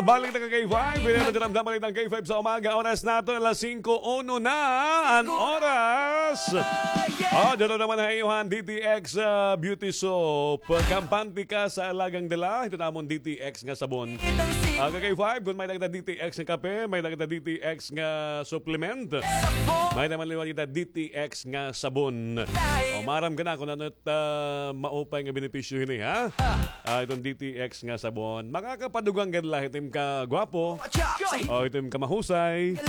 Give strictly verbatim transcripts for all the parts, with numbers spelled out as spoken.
Balik na ka K five, pinatagramdaman it an K five sa umaga. Oras naton, alas singko uno na an oras. Oh, dito naman ha iyo han D T X, ah, Beauty Soap. Kampante ka sa alagang dila. Ito namon D T X nga sabon. Ah, ka K five, kung may-ada kita D T X nga kape, may-ada kita D T X nga supplement, may-ada man liwat kita D T X nga sabon. O, maaram ka na kung ano it, ah, maupay nga benepisyo hini, ha? Ah, iton D T X nga sabon. Makakapadugang gad la it im kagwapo. O, it im kamahusay.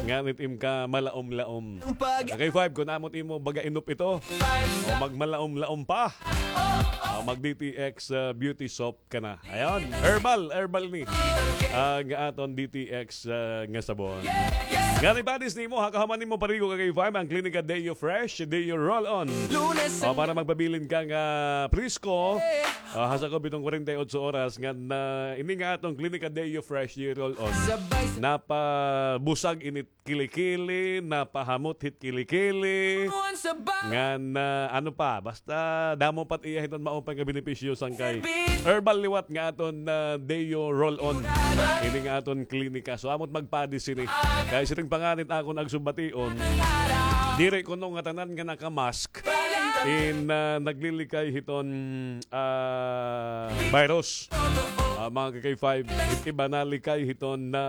Ngan it im kamalaom-laom. Ka K five, kun amo it imo baga inop ito. O, magmalaom-laom pa. O, mag D T X, ah, beauty soap ka na. Ayon, herbal, herbal ni. Ah, nga aton D T X, ah, nga sabon. Nga ni padis nimo, ha, kahuman nimo parigo ka K five, an Klinika Deo Fresh, Deo Roll-On. O, para magpabilin ka nga presko. Ah, ha sakob hiton kwarenta y otso oras, ngan ini nga aton Klinika Deo Fresh, Deo Roll-On. Napabusag ini kili-kili, napahamot hit kili-kili. Ngan, ah, ano pa, basta damo pa it iya hiton maupay nga benepisyo sangkay herbal liwat nga aton, ah, Deo Roll-On. Ini nga aton klinika. So, amo it magpadis ini. Kay siring pa ngani it akon agsubation, diri kuno ngatanan nga naka-mask in, ah, naglilikay hiton, ah, virus. Ah, mga ka K five, it iba nalikay hiton nga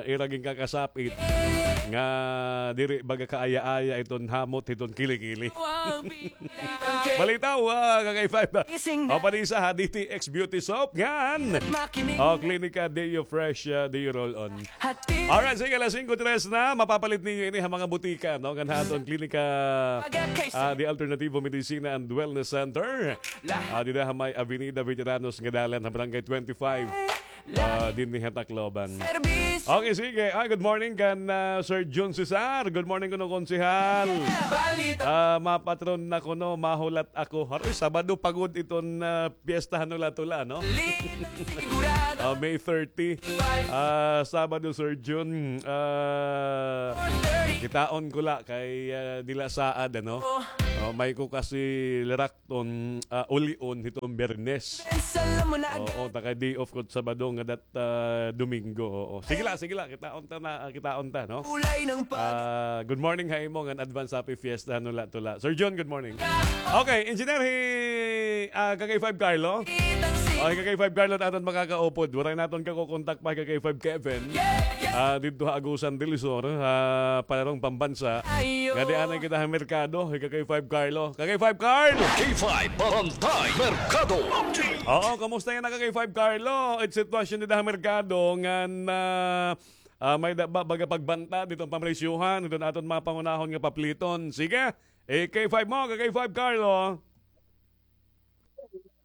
ira ginkakasapit nga diri baga kaaya-aya iton hamot hiton kili-kili. Balitaw, ah, ka K five. O, padis ha D T X Beauty Soap, ngan. O, Klinika Deo Fresh, ah, Deo Roll-On. Alright, sige, alas singko tres na. Mapapalit ninyo ini ha mga butika, no? Ngan ha aton klinika, ah, The Alternativo Medicina and Wellness Center. Ah, dida ha may Avenida Veteranos nga dalan ha Barangay twenty-five. Ah, dinhi ha Tacloban. Okay, sige. Ah, good morning kan, ah, Sir Jun Cesar. Good morning kuno, Konsehal. Ah, mapatron na kuno, mahulat ako. Haroy, Sabado pa gud iton, ah, Piyesta han Hula-Tula, no? Ah, May thirty. Ah, Sabado, Sir Jun. Ah, kitaon ko la kay, ah, dila saad, ano? Oh, may ko kasi lirakton, ah, ulion hiton Biyernes. Oo, ta kay day off ko Sabado nga dat, ah, Domingo. Oo. Sige la, sige la. Kitaon ta na, ah, kitaon ta, no? Ah, good morning ha imo ngan advance happy fiesta han Hula-Tula. Sir John, good morning. Okay, engineer, hi, ah, ka K five Carlo. Okay, ka K five Carlo, aton makakaupod. Waray naton kakukontak pa, ka K five Kevin. Ah, didto ha Agusan del Sur, ha Palarong Pambansa. Ngadi anay kita ha merkado, hi ka K five Carlo. Ka K five Carlo! K five Barangay Merkado Update. Oo, kumusta yana ka K five Carlo? It sitwasyon dida ha merkado ngan, ah, ah, may da, ba, baga pagbanta diton pamresyuhan, diton aton mga pangunahon nga papliton. Sige, eh, K five mo, ka K five Carlo.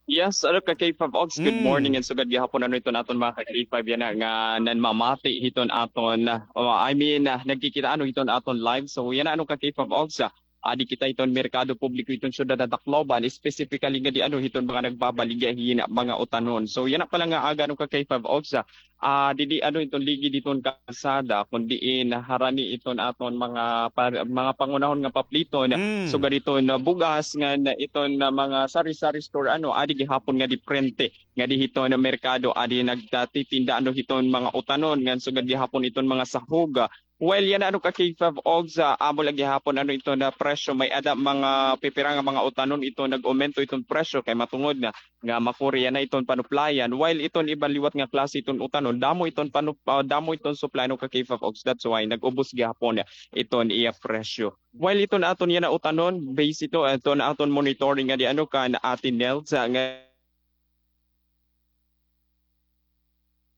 Yes, ano ka K five Ox, good morning and sugad gihapon ano iton aton mga ka K five yana nga nanmamati hiton aton, ah, I mean, ah, nagkikita ano hiton aton live. So yana ano ka K five Ox, ah, adi kita hiton merkado publiko hiton syudad han Tacloban, specifically ngadi ano hiton mga nagbabaligya hin mga utanon. So yana pala nga aga ano ka K five Ox, ah, ah, didi ano iton ligid hiton kalsada, kun diin harani iton aton mga pa, mga pangunahon nga papliton, sugad iton bugas ngan iton mga sari-sari store, ano, adi gihapon nga diprente ngadi hiton merkado, adi nagtatitinda ano hiton mga utanon ngan sugad gihapon iton mga sahog. Well, yana ano ka K five Ogs, amo la gihapon ano iton nga presyo, may-ada mga pipira nga mga utanon iton nag-umento iton presyo kay matungod na nga makuri yana iton panuplayan, while iton iban liwat nga klase iton utanon, damo iton panu-, ah, damo iton supply ano ka K five Ogs, that's why nag-ubos gihapon iton iya presyo. While iton aton yana utanon, base ito, iton aton monitoring ngadi ano kan Ate Nels, ah, nga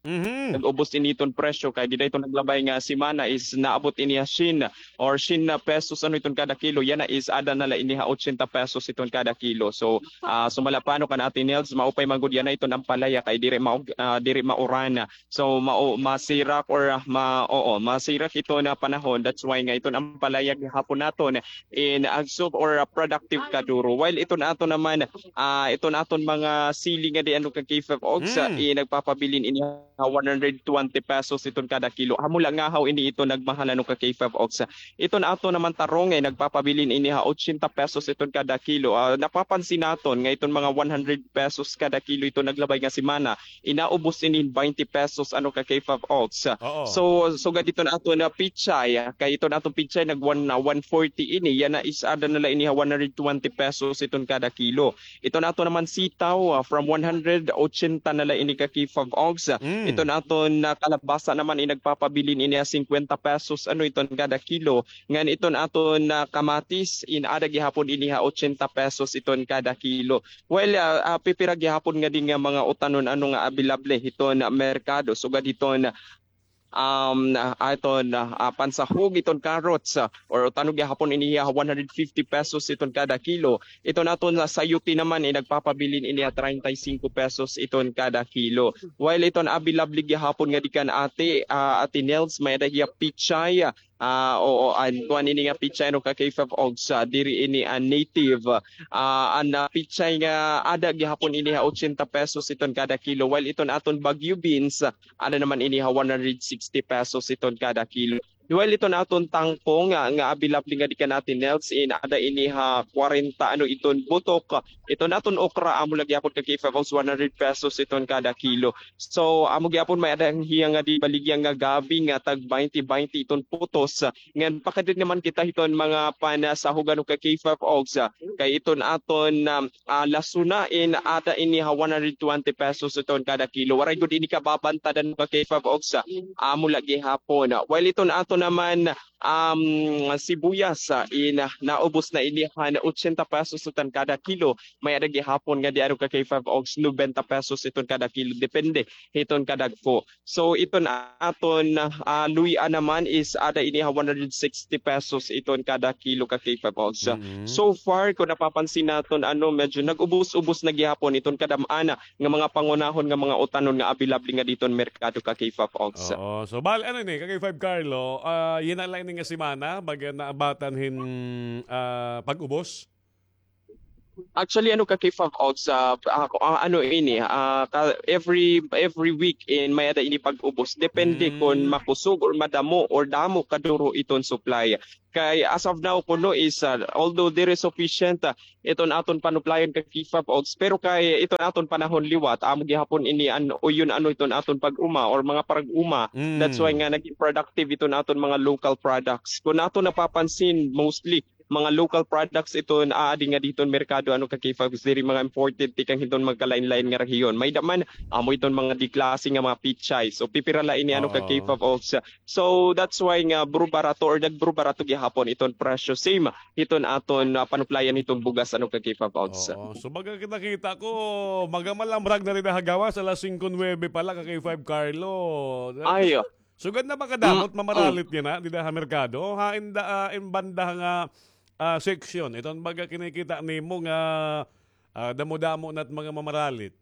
nag-ubos ini iton presyo kay dida iton naglabay nga semana is naabot ini ha syen or syen na pesos ano iton kada kilo, yana is aada na la ini ha ochenta pesos iton kada kilo. So, ah, sumala pa ano kan Ate Nels, maupay man gud yana iton ampalaya kay diri ma-, ah, diri mauran. So, mao-, masirak or, ah, ma-, oo, masirak iton panahon. That's why nga iton ampalaya gihapon naton in agsop or, ah, productive kaduro. While iton aton naman, ah, iton aton mga sili ngadi ano ka K five Ogs, ah, nagpapabilin ini ha one hundred twenty pesos iton kada kilo. Amo la ngahaw ini iton nagmahal, ano, ka K five Ogs. Iton aton naman tarong, eh, nagpapabilin ini ha ochenta pesos iton kada kilo. Ah, napapansin naton nga iton mga one hundred pesos kada kilo iton naglabay nga semana, inaubos ini hin twenty pesos, ano, ka K five Ogs. Oo. So, sugad iton aton nga pechay, ah, kay iton aton pechay nag one, ah, one forty ini, yana is aada na la ini ha one hundred twenty pesos iton kada kilo. Iton aton naman sitaw, ah, from one hundred, ochenta na la ini ka K five Ogs. Mm. Iton aton, ah, kalabasa naman, eh, nagpapabilin ini ha singkwenta pesos, ano, iton kada kilo. Ngan iton aton, ah, kamatis, in aada gihapon ini ha ochenta pesos iton kada kilo. Well, ah, ah, pipira gihapon ngadi nga mga utanon, ano, nga abilable hiton merkado. Sugad hiton, um, ah, iton, ah, ah, pansahog, iton carrots, ah, or utanon gihapon ini ha one hundred fifty pesos iton kada kilo. Iton aton, ah, sayote naman, eh, nagpapabilin ini ha treinta y cinco pesos iton kada kilo. While iton abilable gihapon ngadi kan ate, ah, Ate Nels, may-ada hiya pechay, ah, oo, an kuan ini nga pechay, ano, ka K five Ogs, diri ini an native. Ah, an, ah, pechay nga aada gihapon ini ha ochenta pesos iton kada kilo, while iton aton Baguio beans, ah, aada naman ini ha one hundred sixty pesos iton kada kilo. While iton aton tangkong, ah, nga abilable ngadi kan Ate Nels, in aada ini ha kwarenta, ano, iton butok. Iton aton okra, amo la gihapon ka K five Ogs, one hundred pesos iton kada kilo. So, amo gihapon may-ada hiya ngadi baligya nga gabi nga tag baynte baynte iton putos. Ngan pakadiri naman kita hiton mga pansahog, ano, ka K five Ogs, ah, kay iton aton, um, ah, lasuna in aada ini ha one hundred twenty pesos iton kada kilo. Waray gud ini kababantad, ano, ka K five Ogs, ah, amo la gihapon. While iton aton naman, um, sibuyas, ah, in, ah, naubos na ini han ochenta pesos iton kada kilo. May-ada gihapon ngadi, ano, ka K five Ogs, nobenta pesos iton kada kilo. Depende hiton kadagko. So, iton aton, ah, luy-a naman is aada ini ha one hundred sixty pesos iton kada kilo ka K five Ogs. Mm-hmm. So far, kon napapansin naton, ano, medyo nag-ubos-ubos na gihapon iton kadam-an nga mga pangunahon nga mga utanon nga abilable ngadi hiton merkado ka K five Ogs. Oo. So, bali, ano ini, ka K five Carlo, ah, yana la ini nga semana, baga naabtan hin, ah, pag-ubos? Actually, ano, ka K five Ogs, ah, ah, ano ini, ah, ka-, every, every week in may-ada ini pag-ubos. Depende kon makusog or madamo or damo kaduro iton supply. Kay as of now kuno is, ah, although diri sufficient, ah, iton aton panuplayan ka K five Ogs, pero kay iton aton panahon liwat, amo gihapon ini an uyon, ano, iton aton pag-uma or mga parag-uma. That's why nga naging productive iton aton mga local products. Kon aton napapansin, mostly mga local products iton aadi ngadi hiton merkado, ano, ka K five Ogs, diri mga imported tikang hiton magkalain-lain nga rehiyon. May-ada man, amo iton mga D-klase nga mga pechay. So, pipira la ini, ano, ka K five Ogs. So, that's why nga buro-barato or nagburubarato gihapon iton presyo. Same hiton aton, ah, panuplayan hiton bugas, ano, ka K five Ogs. Oo. So, baga kita-kita ko, baga malamrag na dida ha gawas, alas singko nuwebe pa la, ka K five Carlo. Ay, oh. Sugad na ba kadamo it mamaralit yana dida ha merkado? Ha inda, ah, in banda nga, ah, seksyon, iton baga kinikita nimo nga, ah, damo-damo na it mga mamaralit?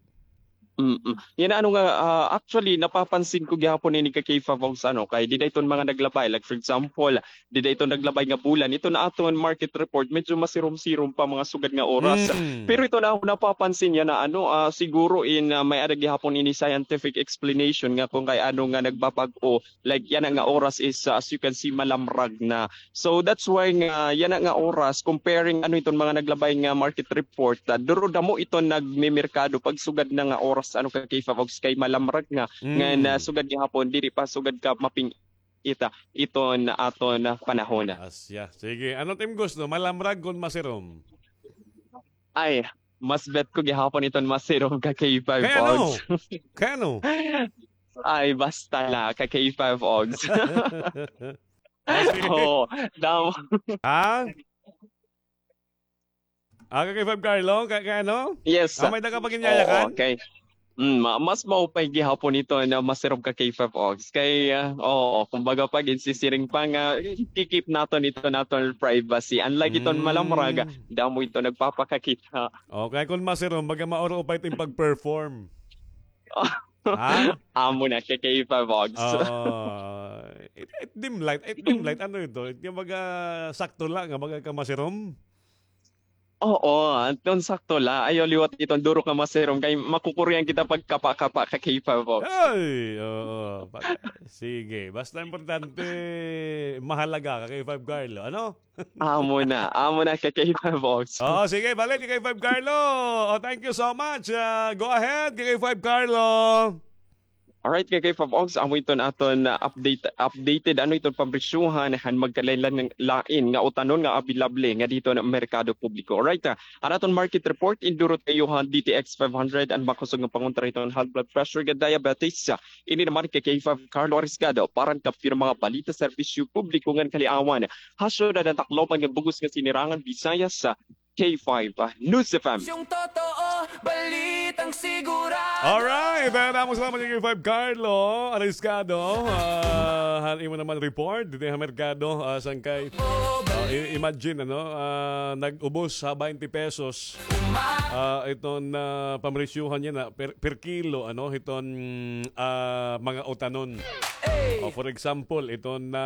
Mm. Yana, ano nga, ah, actually, napapansin ko gihapon ini ka K five Ogs, ano, kay dida iton mga naglabay. Like, for example, dida iton naglabay nga bulan, iton aton market report, medyo masirom-sirom pa mga sugad nga oras. Mm. Pero iton ako napapansin yana, ano, ah, siguro in, ah, may-ada gihapon ini scientific explanation nga kon kay ano nga nagbabag-o, like, yana nga oras is, ah, as you can see, malamrag na. So, that's why nga, yana nga oras, comparing, ano, iton mga naglabay nga market report, ah, duro damo iton nagmemerkado pagsugad na nga oras, ano, ka K five Ogs, kay malamrag na. Mm. Ngan, ah, sugad gihapon, diri pa sugad ka maping-ita iton aton panahon. Asya. Sige, ano it im gusto? Malamrag kon masirom? Ay, mas bet ko gihapon iton masirom ka K five Ogs. Kay ano? Kay ano? Ay, basta la, ka K five Ogs. Ah, sige. Oo, daw. Ha? Ah, ka K five Carlo, ka-, kay ano? Yes. Ah, may-ada ka pag-inyayakan? Oo, okay. Mm, ma-, mas maupay gihapon ito na masirom ka K five Ogs. Kay, ah, oo, kumbaga pag insisiring pa nga, kikip naton ito naton privacy. Unlike iton malamrag, damo ito nagpapakakita. Okay, kon masirom, baga mauro pa ito yung pag-perform. Ha? Amo na, kay K five Ogs. Oo. It, it dim light, it dim light, ano ito? It, yung baga sakto lang, nga baga ka masirom? Oo, anton sakto la. Ayaw liwat iton duro ka masirom kay makukurian kita pagkapa-kapa ka K five Ox. Ay, oo. Pa-, sige, basta importante mahalaga ka K five Carlo, ano? Amo na, amo na ka K five Ox. Oo, sige, balik ka K five Carlo. Oh, thank you so much. Ah, go ahead, ka K five Carlo. Alright, ka K five Ox, amo iton aton, ah, update, updated, ano iton pamresyuhan han magkalain-lain nga utanon nga available ngadi hiton merkado publiko. Alright, ah, an aton market report, indurot kaiyo han D T X five hundred, an makusog nga pangontra hiton high blood pressure nga diabetes. Ah, ini naman ka K five Carlo Ariscado, para han Kapiro Mga Balita, Serbisyo Publiko ngan Kaliawan ha syudad han Tacloban ngan bug-os nga sinirangan Visayas, ah, K five, ah, News F M. Yung totoo, balitang sigurado. Alright, daghang salamat ka K five Carlo Ariscado. Ah, han imo naman report didi ha merkado, ah, Sangkay. Ah, i-, imagine, ano, ah, nag-ubos ha twenty pesos. Ah, iton, ah, pamresyuhan niya na per, per kilo, ano, hiton, ah, mga utanon. O, for example, iton na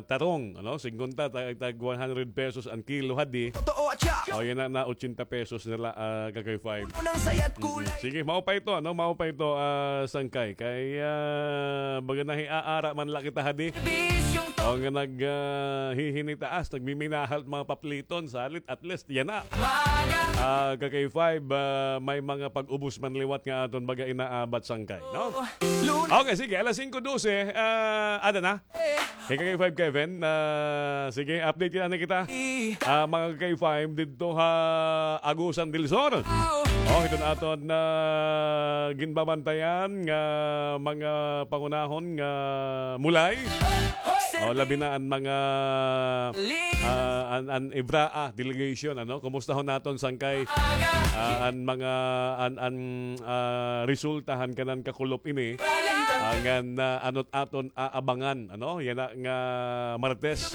tarong, ano, singkunta, tag, tag one hundred pesos an kilo hadi. O, yana na, ochenta pesos na la, ah, ka K five. Mm, sige, mao pa ito, ano, mao pa ito, ah, Sangkay. Kay, ah, baga nahiaara man la kita hadi. O, nga nag, ah, hihinitaas, nagmiminahal mga papliton, salit, at least, yana. Ah, ka K five, ah, may mga pag-ubos man liwat nga aton baga inaabat, Sangkay, no? Okay, sige, alas singko dose, ah, ada na. Hey, ka K five Kevin, ah, sige, update kita na kita. Ah, mga ka K five, didto ha Agusan del Sur. Oh, hiton aton na ginbabantayan nga mga pangunahon nga mulay. Oh, labi na an mga, ah, an, an Ibraa delegation, ano? Kumustahon naton, Sangkay, ah, an mga, an, an, ah, resulta han kanan kakulop ini. Ah, ngan, ah, ano't aton aabangan, ano? Yana nga Martes.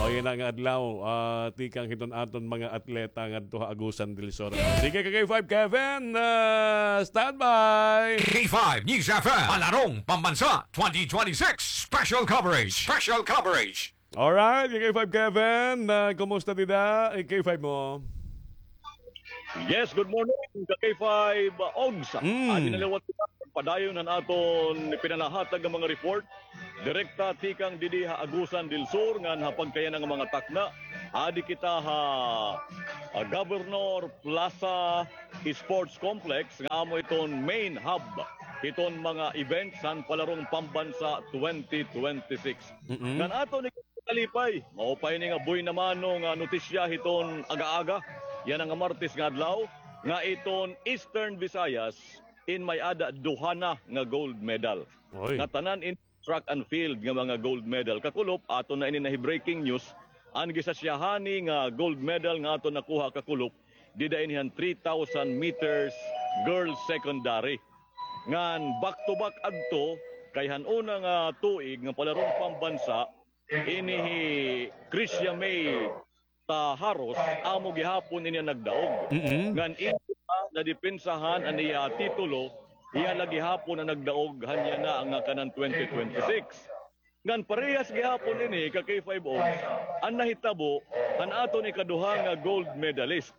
O, yana nga adlaw, ah, tikang hiton aton mga atleta ngadto ha Agusan del Sur. Sige, ka K five Kevin, ah, standby. K five News F M, Palarong Pambansa twenty twenty-six Special Coverage. Special Coverage. Alright, ka K five Kevin, ah, kumusta dida? Eh, K five mo? Yes, good morning, ka K five, uh, Ogs. Mm. Adi na liwat kita padayon an aton ipinalahatag nga mga report. Direkta tikang didi ha Agusan del Sur ngan ha pagkayana nga mga takna. Adi kita ha, ah, Governor Plaza Sports Complex nga amo iton main hub hiton mga events han Palarong Pambansa twenty twenty-six. Mm-mm. Ngan aton kalipay, maupay ini nga buena mano nga notisya hiton aga-aga, yana nga Martes nga adlaw, nga iton Eastern Visayas in may-ada duha na nga gold medal. Oy. Nga tanan in track and field nga mga gold medal. Kakulop, aton na ini nahi-breaking news, an gisasiyahani nga gold medal nga aton nakuha kakulop, dida ini han three thousand meters girls secondary. Ngan back to back adto, kay han una nga tuig nga Palarong Pambansa, ini hi Krisha May Taharos, amo gihapon ini an nagdaog. Mm-mm. Ngan iya nadepensahan an iya titulo, iya la gihapon an nagdaog han yana nga kanan twenty twenty-six. Ngan parehas gihapon ini ka K five Ogs, an nahitabo han aton ikaduha nga gold medalist,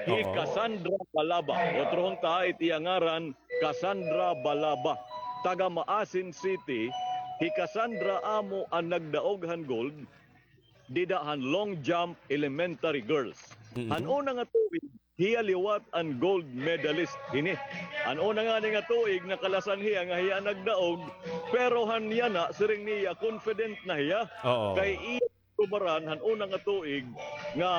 hi Oo. Cassandra Balaba. Otro hunta it iya ngaran, Cassandra Balaba. Taga Maasin City, hi Cassandra amo an nagdaog han gold dida han long jump elementary girls. Mm-hmm. Han una nga tuig, hiya liwat an gold medalist hini. An una ngani nga tuig, nakalasan hiya nga hiya an nagdaog, pero han yana, siring niya, confident na hiya. Oo. Kay iya tubaran han una nga tuig nga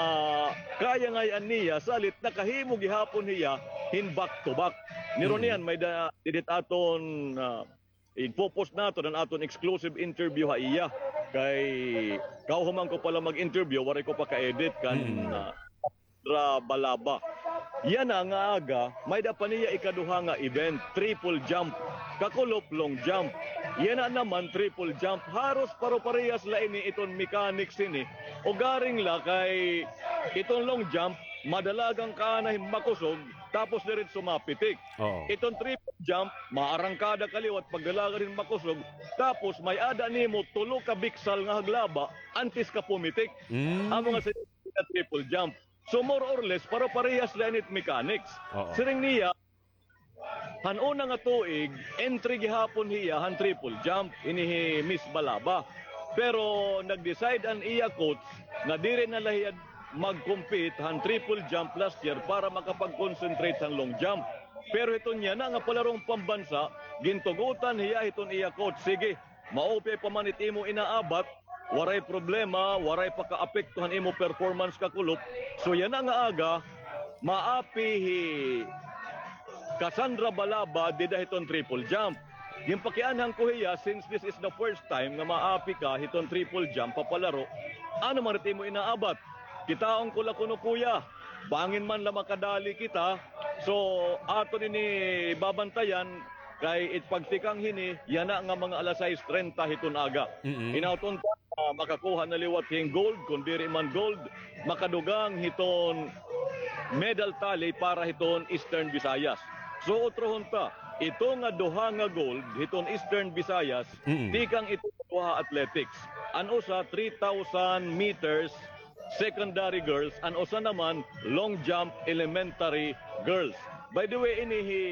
kaya ngay-an niya, salit nakahimo gihapon hiya hin back to back. Niro Mm. niyan, may da-, didit aton, ah, igpo-post naton an aton exclusive interview ha iya. Kay kauhuman ko pa la mag-interview, waray ko pa ka-edit kan, Mm. ah, Sandra Balaba. Yana nga aga, may-ada pa niya ikaduha nga event, triple jump. Kakulop, long jump. Yana naman, triple jump. Haros paro-parehas la ini iton mechanics ini. Ugaring la kay iton long jump, madalagan ka na hin makusog, tapos diretso mapitik. Oo. Iton triple jump, maarangkada ka liwat pagdalagan hin makusog, tapos may-ada nimo tulo ka biksal nga haglaba antes ka pumitik. Mm. Amo nga sa triple jump. So more or less, paro-parehas la ini it mechanics. Oo. Siring niya, han una nga tuig, entry gihapon hiya han triple jump, ini hi Miss Balaba. Pero nag-decide an iya coach nga diri na la hiya mag-compete han triple jump last year para makapag-concentrate han long jump. Pero hiton yana nga palarong pambansa, gintugotan hiya hiton iya coach, "Sige, maupay pa man it imo inaabat, waray problema, waray pakaapekto han imo performance kakulop." So yana nga aga, maapi hi Cassandra Balaba dida hiton triple jump. Ginpakianhan ko hiya, since this is the first time nga maapi ka hiton triple jump, papalaro, ano man it imo inaabat? Kitaon ko la kuno, kuya, bangin man la makadali kita. So aton ini babantayan, kay it pagtikang hini, yana nga mga alas sais trenta hiton aga. Mm-mm. Hinaot unta, ah, makakuha na liwat hin gold, kun diri man gold, makadugang hiton medal tally para hiton Eastern Visayas. So utrohon ta, ito nga duha nga gold hiton Eastern Visayas, mm-mm, tikang ito duha athletics. An usa, three thousand meters secondary girls, an usa naman, long jump elementary girls. By the way, ini hi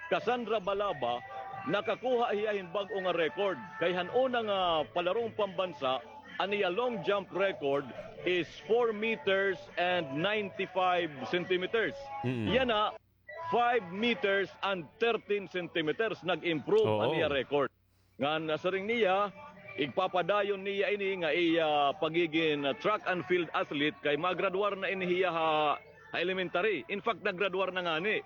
Cassandra Balaba, nakakuha hiya hin bag-o nga record. Kay han una nga palarong pambansa, an iya long jump record is four meters and ninety-five centimeters. Mm-mm. Yana, five meters and thirteen centimeters. Nag-improve an iya record. Ngan, ah, siring niya, igpapadayon niya ini nga iya pagigin, ah, track and field athlete kay magradwar na ini hiya ha, ha elementary. In fact, nagradwar na ngani.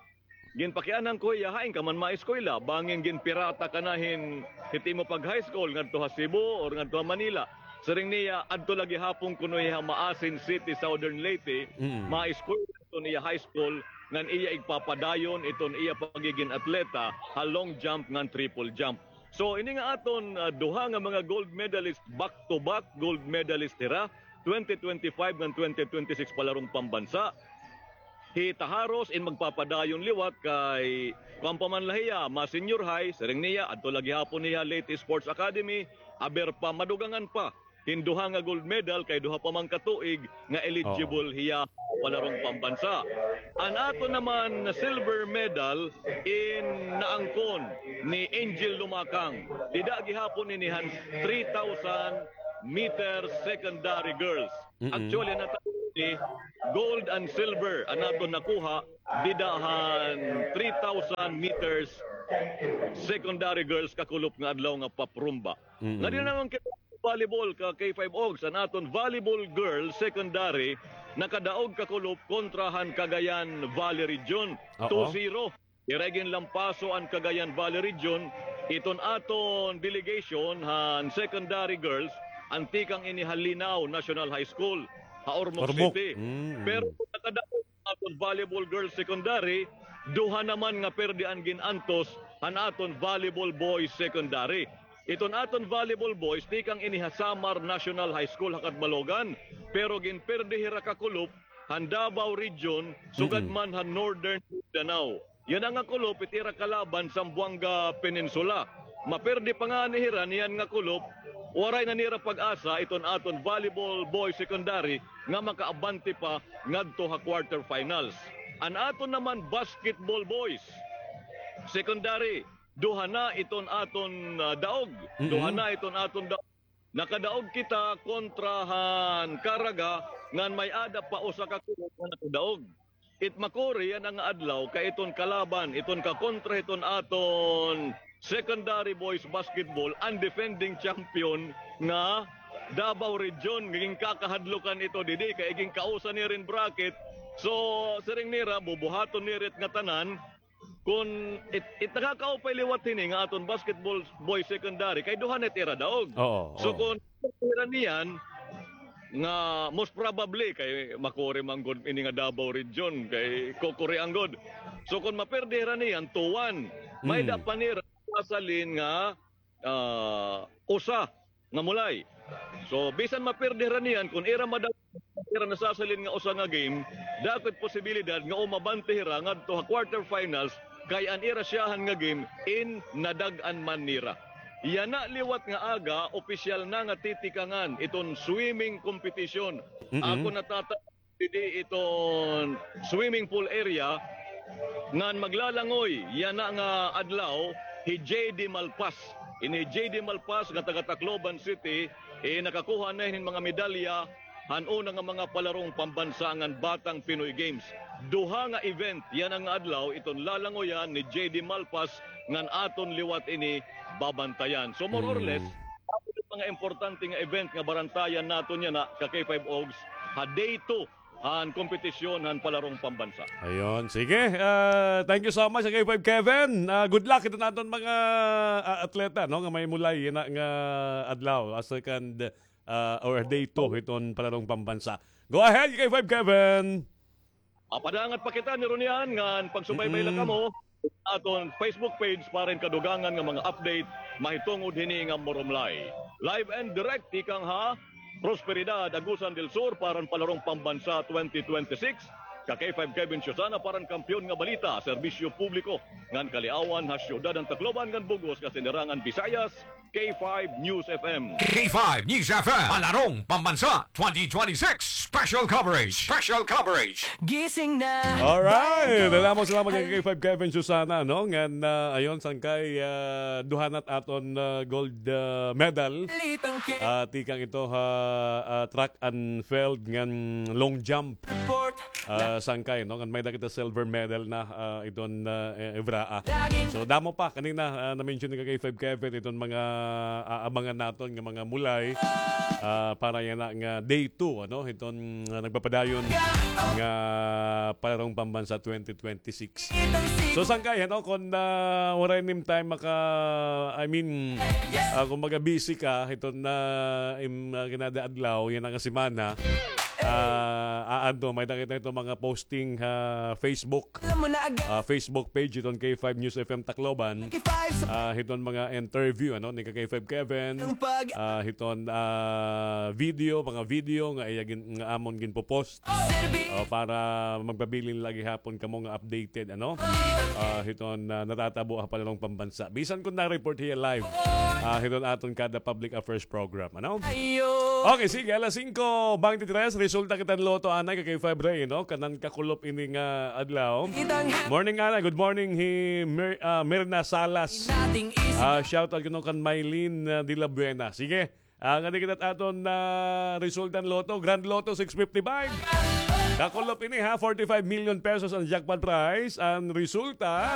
Ginpakianhan ko hiya, "Hain ka man maeskwela? Bangin ginpirata ka na hin, hit imo pag-high school ngadto ha Cebu or ngadto ha Manila?" Siring niya, "Adto la gihapon kuno hiya ha Maasin City, Southern Leyte, mm, maeskwela iton iya high school, ngan iya igpapadayon iton iya pagigin atleta ha long jump ngan triple jump." So ini nga aton, ah, duha nga mga gold medalist, back to back gold medalist hira, twenty twenty-five ngan twenty twenty-six palarong pambansa. Hi Taharos in magpapadayon liwat kay kuan pa man la hiya, ma-senior high, siring niya, adto la gihapon hiya Leyte Sports Academy, aber pa, madugangan pa hin duha nga gold medal kay duha pa man ka tuig nga eligible hiya palarong pambansa. An aton naman silver medal in naangkon ni Angel Lumakang. Dida gihapon ini han three thousand meter secondary girls. Mm-mm. Actually, natapos ni gold and silver an aton nakuha dida han three thousand meters secondary girls kakulop nga adlaw nga paprumba. Mm-mm. Nga di naman kita volleyball ka K five Ogs, an aton volleyball girls secondary nakadaog kakulop kontra han Cagayan Valley Region. Oo. Two zero. Ira ginlampaso an Cagayan Valley Region, iton aton delegation han secondary girls, an tikang ini ha Linao National High School, ha Ormoc City. Ormoc. Mm. Pero nakadaog aton volleyball girls secondary, duha naman nga perdi an gin-antos han aton volleyball boys secondary. Iton aton volleyball boys, tikang ini ha Samar National High School ha Catbalogan, pero ginperdi hira kakulop han Davao Region, sugad man han Northern Mindanao. Yana nga kulop it ira kalaban Zamboanga Peninsula. Maperdi pa ngani hira niyan nga kulop, waray na nira pag-asa iton aton volleyball boys secondary nga makaabante pa ngadto ha quarterfinals. An aton naman basketball boys secondary, duha na iton aton, ah, daog. Mm-mm. Duha na iton aton daog. Nakadaog kita kontra han Caraga, ngan may-ada pa usa ka kulop nga nakadaog. It makuri yana nga adlaw kay iton kalaban, iton kakontra hiton aton secondary boys basketball, an defending champion nga Davao Region, nga ginkakahadlokan ito didi kay ginkausa nira hin bracket. So siring nira, bubuhaton nira it ngatanan, kun it, it nakakaupay liwat hini nga aton basketball boys secondary kay duha na it ira daog. Oo, oo. So kun ira niyan nga most probably kay makuri man gud ini nga Davao Region kay kukuri an gud. So kun maperdi hira niyan two one, may-ada pa nira sasalin nga ah, usa nga mulay. So bisan maperdi hira niyan, kun ira madaog ira nasasalin nga usa nga game, dako it posibilidad nga umabante hira ngadto ha quarterfinals, kay an ira syahan nga game in nadag-an man nira. Yana liwat nga aga, opisyal na nga titikangan iton swimming competition. Mm-mm. Ako natata- didi iton swimming pool area ngan maglalangoy yana nga adlaw hi J D Malpas. Ini hi J D Malpas nga taga Tacloban City, eh, nakakuha na hin mga medalya han una nga mga palarong pambansa ngan Batang Pinoy Games. Duha nga event yana nga adlaw iton lalangoyan ni J D Malpas ngan aton liwat ini babantayan. So more or less, mga importante nga event nga barantayan naton yana ka K five Ogs ha day two han kompetisyon han palarong pambansa. Ayun. Sige. Ah, thank you so much, K five Kevin. Ah, good luck iton aton mga, ah, atleta, no, nga may mulay yana nga adlaw, ah, second, ah, or day two hiton palarong pambansa. Go ahead, K five Kevin. Mapadangat pa kita ni Ronian ngan pagsubaybay la kamo aton Facebook page para hin kadugangan nga mga update mahitungod hini nga murumlay. Live and direct tikang ha Prosperidad, Agusan del Sur, para han palarong pambansa twenty twenty-six. Ka K five Kevin Susana para han Kampiyon nga Balita, Serbisyo Publiko ngan Kaliawan ha Siyudad han Tacloban ngan bug-os nga Sinirangan Visayas, K five News F M. K five News F M, Palarong Pambansa twenty twenty-six Special Coverage. Special Coverage. Gising na. Alright. Salamat, salamat kay K five Kevin Susana, no? Ngan, ah, ayon, sangkay, ah, duha na it aton, ah, gold, ah, medal. Ah, tikang ito ha, ah, track and field ngan long jump. Ah, sangkay, no? Ngan may-ada kita silver medal na, ah, iton, ah, eh, Evraa. So, damo pa. Kanina, ah, na-mention ni ka K five Kevin, iton mga aabangan naton nga mga mulay, ah, para yana nga day two, ano? Iton, ah, nagpapadayon nga Palarong Pambansa twenty twenty-six. So, sangkay, ano? Kon, ah, waray nim time maka, I mean, ah, kung maga busy ka, iton na, im, ah, kinada adlaw, yana nga semana, ah, ah, ano, may-ada kita ito mga posting ha Facebook. Ah, Facebook page iton K five News F M Tacloban. Ah, hiton mga interview, ano, ni ka K five Kevin. Ah, hiton, ah, video, mga video nga iya gin-, nga amon ginpopost. Ah, para magpabilin la gihapon kamo nga updated, ano? Ah, hiton, ah, natatabo ha Palarong Pambansa. Bisan kon na-report hiya live. Ah, hiton aton kada public affairs program, ano? Okay, sige, alas singko beintitres, resulta kita han lotto, anay, ka K five Ray, no? Kanan kakulop ini nga adlaw. Morning, anay. Good morning, hi Mir-, ah, Mirna Salas. Ah, shout out kuno kan Mylene, ah, de la Buena. Sige. Ah, ngadi kita it aton, ah, resulta han lotto, Grand Lotto six fifty-five. Kakulop ini, ha, forty-five million pesos an jackpot prize. An resulta,